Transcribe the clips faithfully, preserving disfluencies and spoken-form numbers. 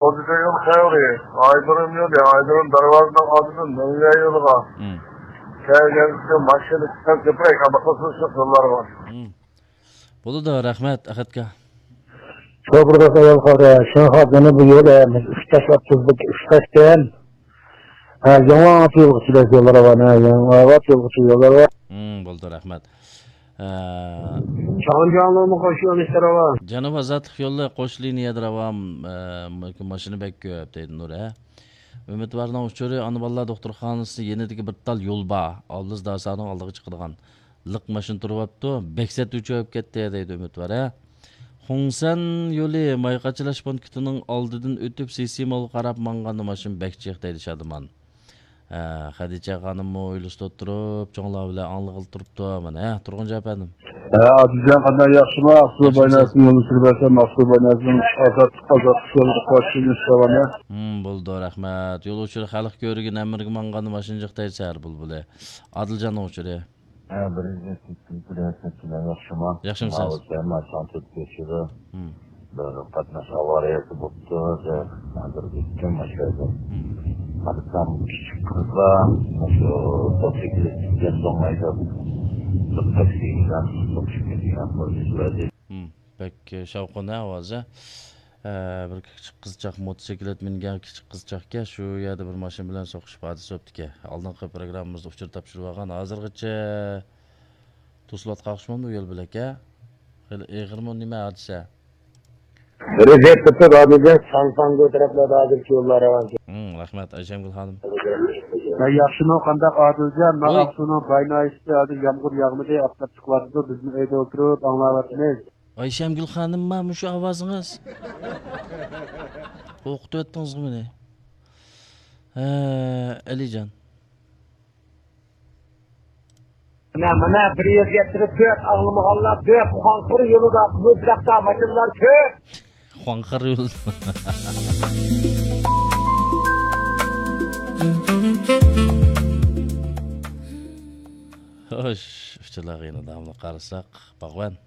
خوجىكۆل يول خەۋىرى، ئايدۇرۇم يولى، ئايدۇرۇم دەرۋازىنىڭ ئالدىدىن مۆڭگە يولىغا. مم. كەلگەنسىز ماشىنا كۆپرەك، ھەممە قىلسىز شۇ يوللارغا. مم. بولىدۇ، رەھمەت، ئەخەتكە. شوپۇر ئايال قارا، شۇڭا جەنۇبىي يول، ئە، ئۈچ تاشلاپ تۇزدۇق، ئۈچ تاشتىن. ھە، ياڭاچ يولغا چىداش يوللار بار، ھە، ياڭاچ يولغا چىداش يوللار بار. مم، بولدى، رەھمەت. ئە، چاڭجياڭلىمۇ قوش يول ئىشلىرى بار. جەنۇب ئازادلىق يولى قوش لىنىيەدە راۋان، ئە، ماشىنا بەك كۆپ دەيدۇ نۇر، ھە. ئۈمىدۋارنىڭ ئۇچۇرى، ئانا بالىلار دوختۇرخانىسى يېنىدىكى بىر تال يول بار. ئابلىز داسانىڭ ئالدىغا چىقىدىغان. لىق ماشىنا تۇرۇۋاپتۇ. بەك سەت ئۆچۈپ كەتتى دەيدۇ ئۈمىدۋار، ھە. خۇڭسەن يولى ماي قاچىلاش پونكىتىنىڭ ئالدىدىن ئۆتۈپ، سىسىمالغا قاراپ ماڭغاندا ماشىنا بەك جىق دەيدۇ شادىمان. ھە، خەدىچە خانىممۇ ھويلىسىدا ئولتۇرۇپ، چوڭلار بىلەن ئاڭلىغىلى تۇرۇپتۇ. مانا، ھە، تۇرغۇنجان ئەپەندىم. ھە، ئادىلجان، قانداق، ياخشىما؟ ئاقسۇ ياخشىمۇسىز؟ بايناسىنى يولنى سۈرۈپ بەرسەم، ئاقسۇ بايناسىنىڭ ئازاد، ئازاد يولىدا قوشۇلۇش داۋامى. ھىم، بولىدۇ، رەھمەت. يول ئۇچۇرى خەلق كۆرگەن ھەممىرىگە ماڭغاندا ماشىنا جىق دەيدۇ سەھەر بۇلبۇلى. ئادىلجاننىڭ ئۇچۇرى. ھە، بىر يۈز يەتتە، بىر يۈز يەتتە، ياخشىما؟ ياخشىمۇسىز؟ ماۋۇ سەن ماشىنا تۆت كۆچىدۇ. ھىم. بىر قاتناش ئاۋارىيەسى بوپتۇ، ھازىر ئۆتتۈم ماشۇ يەردىن. ھىم. قارىسام، كىچىك قىزلار مۇشۇ موتوسىكلىت يەندوڭ ھەيدەپ، بىر تاكسى بىلەن توقۇشۇپ كەتكەن قىلىۋەردى. ھىم. بەك شاۋقۇن ھە ئاۋازى. ھە، بىر كىچىك قىزچاق موتوسىكلىت مىنگەن كىچىك قىزچاقكەن، شۇ يەردە بىر ماشىنا بىلەن سوقۇشۇپ ھادىسە بوپتىكەن. ئالدىنقى پروگراممىمىزدا ئۇچۇر تاپشۇرۇۋالغان، ھازىرغىچە توسۇلۇۋاتقان ئوخشىمامدۇ يول بۆلەك، ھە؟ خېلى ئېغىرمۇ نېمە ھادىسە؟ رېزىيەت تېپىپ ھازىرچە ساڭساڭگو تەرەپلەردە ھازىرچە يوللار راۋان. ھىم، رەھمەت، ئايشەمگۈل خانىم. ھە، ياخشىمۇ، قانداق ئادىلجان؟ مانا ۋاي. ئاقسۇنىڭ باي ناھىيەسىدە ھازىر يامغۇر ياغمىدى، ئاپتاپ چىقىۋاتىدۇ، بىزمۇ ئۆيدە ئولتۇرۇپ ئاڭلاۋاتىمىز. ئايشەمگۈل خانىمما مۇشۇ ئاۋازىڭىز؟ قورقۇتۇۋەتتىڭىزغۇ مېنى. ھە، ئەلىجان. مانا، مانا، بىر يۈز يەتتە تۆت، ئاڭلىمىغانلار كۆپ، خۇاڭخې يولىدا مۇزلۇقتا ماشىنىلار كۆپ. خۇاڭخې يولىدا. خوش، ئۇچۇرلارغا يەنە داۋاملىق قارىساق، باغۋەن.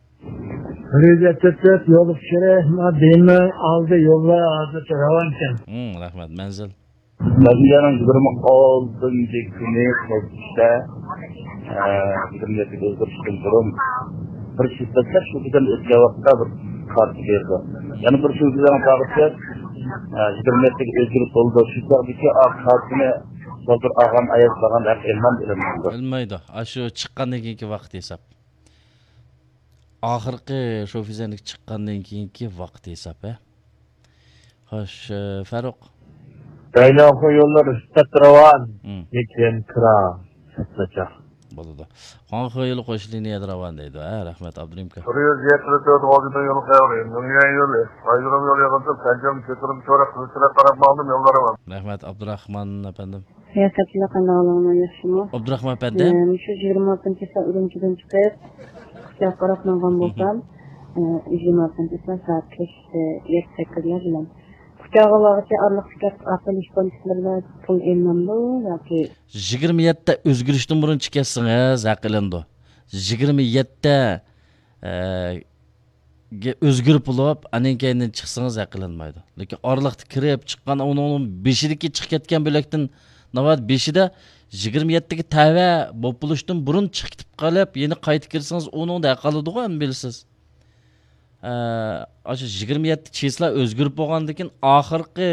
بىر يۈز يەتتە تۆت يول ئۇچۇرى، دېمە ئالدى يوللار ھازىرچە راۋانكەن. ھىم، رەھمەت. مەنزىل؟ مەنزىلنىڭ يىگىرمە ئالتىنچى كۈنى قىزىشتا، ئە، يىگىرمە يەتتىگە ئۆزگىرىشتىن بۇرۇن بىر شىددەتلەپ شۇ بىزدىن ئۆتكەن ۋاقىتتا بىر كارتا بېرىدۇ. يەنە بىر شۇ بىزنىڭ كارتىسى، ئە، يىگىرمە يەتتىگە ئۆزگىرىپ بولىدۇ. شۇ چاغدىكى ئا كارتىنى ھازىر ئالغان ئايال بارغان ھەق ئېلىنمامدۇ، ئېلىنمامدۇ؟ ئېلىنمايدۇ. ئاشۇ چىققاندىن كېيىنكى ۋاقىت ھېساب. ئاخىرقى شوفىزەندىكى چىققاندىن كېيىنكى ۋاقىت ھېساب، ھە؟ خوش، ئە، فاروق. دايناخو يوللار ئۈستەت راۋان، مم. لېكىن كىرا سەتناچار. بولىدۇ. خۇاڭخې يولى قوش لىنىيەدە راۋان دەيدۇ، ھە؟ رەھمەت، ئابدۇرېھىم ئاكا. بىر يۈز يەتتە تۆت غوجىدىن يول خەۋىرى، مىڭيەن يولى، بايرام يولى يىغىندىم، سەنجام كۆتۈرۈم چورۇق قىلىشراق قاراپ ماڭدىم يوللارغا. رەھمەت، ئابدۇراخمان ئەپەندىم. رىياسەتچىلەر قانداق ئەھۋالىڭلار، ياخشىمۇ؟ ئابدۇراخمان ئەپەندى. ئە، مۇشۇ يىگىرمە ئالتىنچى چىسلا ئۈرۈمچىدىن چىقىپ، كۇچاغا قاراپ ماڭغان بولسام، ئە، يىگىرمە ئالتىنچى چىسلا سائەت كەچ، ئە، يەتتە سەككىزلەر بىلەن. كۇچاغا بارغۇچە ئارىلىقتىكى ئاقىلىش پونكىتلىرىدا پۇل ئېلىنامدۇ ياكى؟ يىگىرمە يەتتە ئۆزگىرىشتىن بۇرۇن چىقىۋەتسىڭىز ھەق ئېلىنىدۇ. يىگىرمە يەتتە، ئە، گە-، ئۆزگىرىپ بولۇپ، ئاندىن كېيىندىن چىقسىڭىز ھەق قىلىنمايدۇ. لېكىن ئارىلىقتا كىرىپ چىققان، ئۇنىڭ بېشىدىكى چىقىپ كەتكەن بۆلەكتىن ناۋادا بېشىدا يىگىرمە يەتتىگە تەۋە بولۇپ بولۇشتىن بۇرۇن چىقىپ قېلىپ، يەنە قايتا كىرسىڭىز، ئۇنىڭدا ھەق قالىدىغۇ، ئەمما بىلىسىز. ئە، ئاشۇ يىگىرمە يەتتە چىسلا ئۆزگىرىپ بولغاندىن كېيىن، ئاخىرقى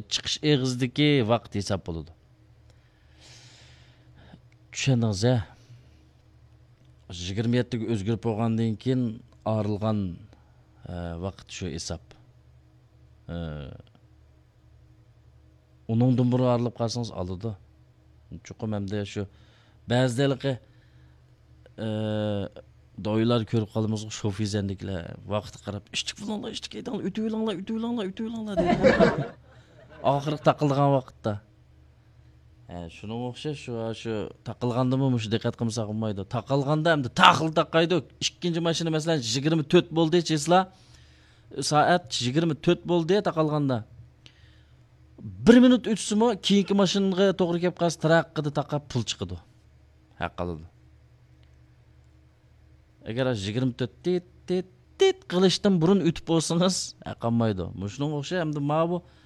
چىقىش ئېغىزىدىكى ۋاقىت ھېساب بولىدۇ. چۈشەندىڭىز، ھە؟ يىگىرمە يەتتىگە ئۆزگىرىپ بولغاندىن كېيىن ئايرىلغان، ئە، ۋاقىت شۇ ھېساب. ئە، ئۇنىڭدىن بۇرۇن ئايرىلىپ قالسىڭىز ئالىدۇ. چوقۇم ئەمدى شۇ بەزىدە ھېلىقى، ئە، دويلار كۆرۈپ قالىمىزغۇ، شوفىزەندىكىلەر ۋاقىتقا قاراپ، «ئىشتىك بولۇڭلار، ئىشتىك ھەيدەڭلار، ئۆتۈۋېلىڭلار، ئۆتۈۋېلىڭلار، ئۆتۈۋېلىڭلار» دەيدۇ. ئاخىرقى تاقىلىدىغان ۋاقىتتا. ھە، شۇنىڭغا ئوخشاش، شۇ، شۇ تاقالغاندىمۇ مۇشۇ دىققەت قىلمىساق بولمايدۇ. تاقالغاندا ئەمدى تاقىل تاقايدۇ. ئىككىنچى ماشىنا، مەسىلەن، يىگىرمە تۆت بولدى چىسلا، سائەت يىگىرمە تۆت بولدى تاقالغاندا. بىر مىنۇت ئۆتسىمۇ، كېيىنكى ماشىنىغا توغرا كەپ قالسا، تىراققىدە تاقاپ پۇل چىقىدۇ. ھەق قالىدۇ. ئەگەر يىگىرمە تۆت تىت، تىت، تىت قىلىشتىن بۇرۇن ئۆتۈپ بولسىڭىز، ھە، قالمايدۇ. مۇشۇنىڭغا ئوخشاش ئەمدى ماۋۇ